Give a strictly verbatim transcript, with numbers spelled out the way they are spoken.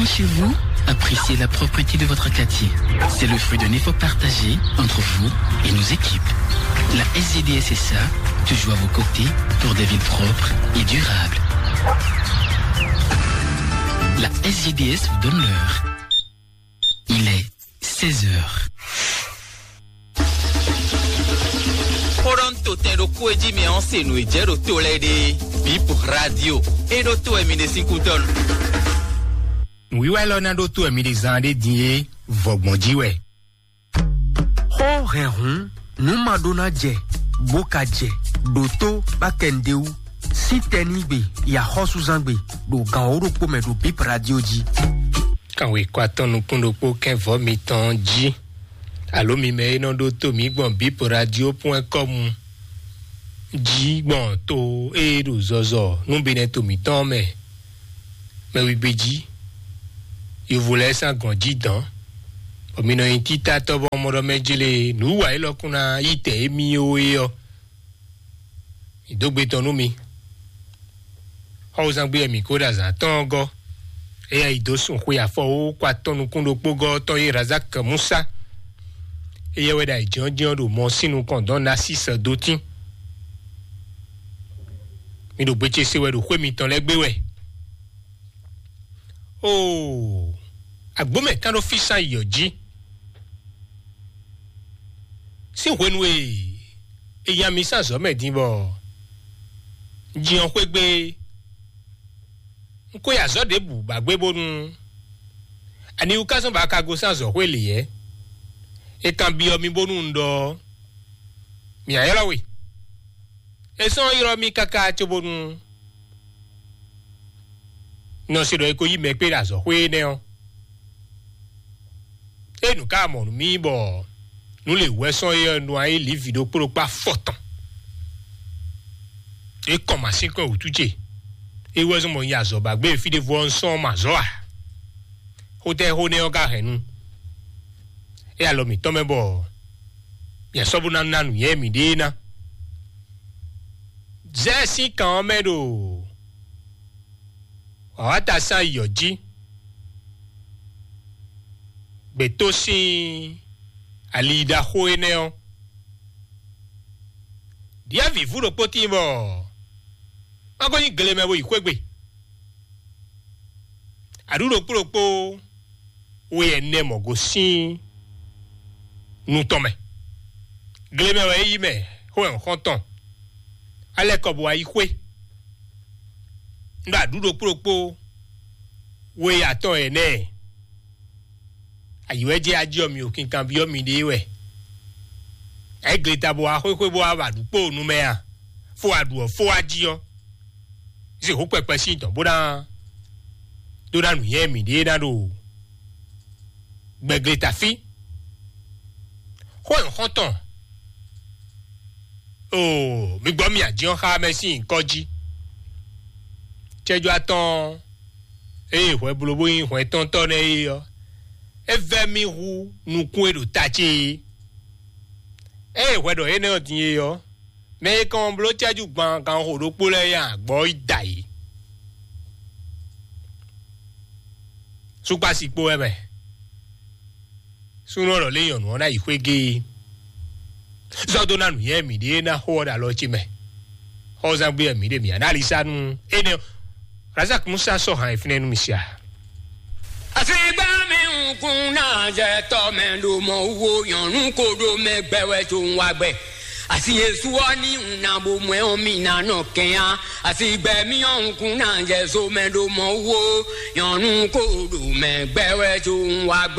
Chez vous, appréciez la propreté de votre quartier. C'est le fruit d'un effort partagé entre vous et nos équipes. La S G D S S A, toujours à vos côtés pour des villes propres et durables. La S G D S vous donne l'heure. Il est seize heures. Xó ɖɔ un to tɛn ɖokpó e jí mi ɔ́ se nǔ e jɛ ɖo to lɛ́ɛ ɖe. Bip Radio. E ɖo to wɛ mi ɖe sín kútɔ́ nu. Nǔwiwa élɔ́ ná ɖó tó wɛ mi ɖe zán ɖé din é, vɔgbɔn jí wɛ. Xó hɛn hǔn, nǔ ma ɖó ná jɛ, bó ka jɛ, ɖo tó bá kɛ nǔɖé wú. Sín tɛnígbe, yi axɔ́súzángbe, ɖo gan wǒ ɖokpó mɛ ɖo Bip Radio jí. Kanwe kɔ atɔn nukún ɖokpó kɛn vɔ̌ mitɔn jí. Alo mi mɛ e nɔ ɖó tó mǐ gbɔn Bip Radio point com jí gbɔn to e ɖo zɔzɔ nú Benɛto mǐtɔn mɛ, mɛ wigbe jí, yovo lɛ́ɛ sín agɔn jí dɔ̌n, bɔ mi nɔ nyi títátɔ́ bɔ mɔ ɖɔ mɛ jlé nǔ wa élɔ́ kún ná yi tɛ émí ó é ɔ́, mi dó gbe tɔn nú mi. Xɔwúzangbe e mǐ ko ɖo azǎn tɔn ɔ́ gɔ́, éyɛ́ yi dó sun xwe afɔwú kɔ atɔn nukún ɖokpó gɔ́ tɔn e Razak Musa, éyɛ́ wɛ ɖo ayǐjínjɔ́n ɖo mɔ sín nukɔn dɔn Nasísɛ dó tín. Mi ɖo gbe ce se wɛ ɖo xwé mitɔn lɛ́ɛ gbé wɛ. Oo, agbǒmɛ kán ɖó fí sán yi ɔ́ jí. Sín hwenu e è nya mi sín azɔ̌ mɛ din bɔ un jin ɔ́ xwé gbé, un ko yi azɔ̌ ɖěbǔ ba gbé bónú aniwú ka zɔ́n bɔ a ka gosín azɔ̌xwé lě yɛ́? È kanbyɔ́ mi bónú un ɖɔ ɔ́, mǐ ná ylɔ́ we. É sɔ́ ylɔ́ mì káká cóbónú nɔ se ɖɔ é ko yí mɛ kpé ɖo azɔ̌xwé énɛ́ ɔ́. É nǔ ka mɔ nú mì bɔ nǔ lě wɛ sɔ́ é ɔ́ nɔ ayí lǐvi ɖokpó ɖokpó afɔtɔn. É kɔn masínkɔn wǔtu ce. É wɛ zɔ́n bɔ un yi azɔ̌ ba gbé fí ɖěvo ɔ́, un sɔ́ mɔ azɔ̌ ǎ. Xótɛ́ xó nɛ́ ɔ́ ka hɛn nu. É alɔ mǐtɔn mɛ bɔ mǐ sɔ́ bó ná ná nǔnywɛ́ mǐɖée ná. Zɛ́ sín kan ɔ́ mɛ ɖo wǎwáta sín ayǐ ɔ́ jí. Gbětó sín ali ɖaxó énɛ́ ɔ́, ɖyɛ̌vǐvú ɖokpó tíin bɔ má ko nyí gle mɛ bó yi xwé gbe. Aɖǔ ɖokpó ɖokpó we ɛnɛ mɔ gosín nu tɔn mɛ. Gle mɛ wɛ é yí mɛ xó ɛnxɔ́ntɔn. Alɛ kɔ bɔ wá yi xwé. Un ɖo aɖǔ ɖokpó ɖokpó we atɔn ɛnɛ. Ayǐ wɛ jɛ ají ɔ́ mi o kinkan byɔ́ miɖée wɛ. Ayǐ gleta bó wá xwéxwé bó wá wa ɖu kpó nu mɛ a? Fó wa ɖu ɔ́ fó wá jí ɔ́. Zixú kpɛkpɛ sín tɔn bó ná dó ná nǔnywɛ́ mǐɖée ná ɖo gbɛgleta fí. Xó e xɔ́ntɔn, oo, mi gbɔ mi ají ɔ́ xá mɛ sín nyǐkɔ jí. Cɛjɔ atɔn ée hwɛ bló bó nyí hwɛntɔ́ntɔ́ nɛ́ é ɔ́, é vɛ́ mì hú nukún e ɖo ta ce é. Ée hwɛ ɖɔ énɛ́ ɔ́ din é ɔ́, mɛ e kɔn bló cɛ́jú gban ganxixo ɖokpó lɛ́ɛ nyi agbɔ̌ yi da yě. Súkpási kpó wɛ mɛ. Súnnu ɔ́ ɖɔ lé nyɔ̌nu ɔ́ ná yi xwé géé. Zɔ́ dó ná nǔnywɛ́ mǐɖée ná xó ɔ́ ɖo alɔ ce mɛ. Xɔ́zán gbé wɛ mǐ ɖe mǐ ná ná ali sá nú énɛ́ ɔ́. Razak Musa sɔ́ han e fínɛ́ nú mi sia. Asigbá mi nkún náà jẹ tọ́ mɛ ɖo mɔ wo nyɔ̌nu ko ɖo mɛ gbɛ wɛ tó ń wá gbɛ. Asi Yesu ɔ́ ní un ná bo mɔ ɛ ɔ́ mi ná nɔ kɛn á. Asigbɛ mi ɔ́ nkún náà jẹ so mɛ ɖo mɔ wo nyɔ̌nu ko ɖo mɛ gbɛ wɛ tó ń wá gbɛ.